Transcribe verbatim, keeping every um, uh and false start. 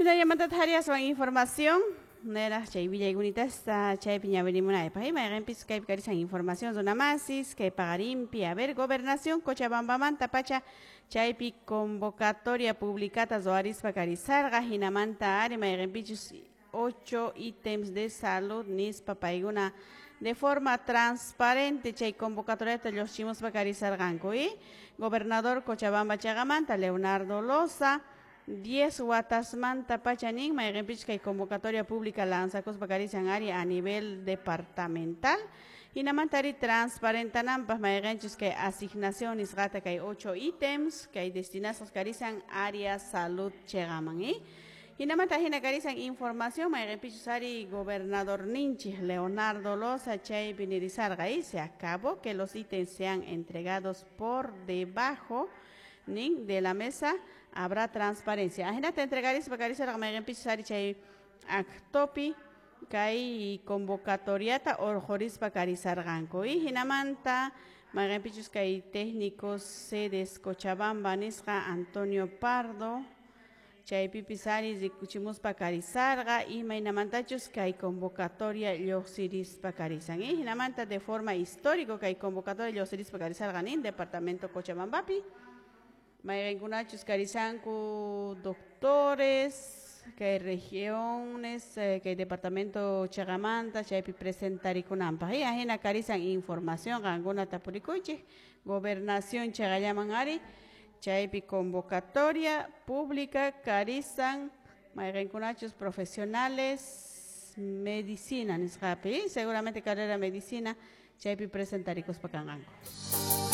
Hinallamanta hariaswan información nera chay willaykunitasta chaypi ñawirimunaypaq mayqinpis kaypi karisan información runamasis kay paqarinpi. A ver, gobernación Cochabambamanta pacha chaypi convocatoria publicata ruwarispa karisarqa hinamanta ari mayqinpichus ocho ítems de salud nispa paykuna de forma transparente chay convocatoriata lluqchimuspa karisarqanku y gobernador Cochabamba chaqamanta Leonardo Loza diez watasmanta pacha nin mayqinpichus kay convocatoria pública lanzakuspa karisan ari a nivel departamental hinamanta ari transparentananpaq mayqinchus kay asignación nisqata kay ocho ítems kay destinados karisan área salud chaqaman y hinamanta hina karisan información mayqinpichus ari gobernador ninchik Leonardo Loza chaypi nirisarqa y se acabó que los ítems sean entregados por debajo nin de la mesa, habrá transparencia. Ahinata entregarispa karisarqa mayqinpichus ari chay actopi kay convocatoriata urqurispa karisarqanku y hinamanta mayqinpichus kay técnicos sedes Cochabamba nisqa Antonio Pardo chaypipis ari rikuchimuspa karisarqa imaynamantachus kay convocatoria lluqsirispa karisan y hinamanta de forma histórico kay convocatoria lluqsirispa karisarqa nin departamento Cochabambapi mayqinkunachus karisanku doctores kay regiones eh, kay departamento chaqamanta chaypi presentarikunanpaq y ahina karisan información qankuna tapurikuychik gobernación chaqallaman ari chaypi convocatoria pública karisan mayqinkunachus profesionales medicina nisqapi seguramente carrera medicina chaypi presentarikuspa kanqanku.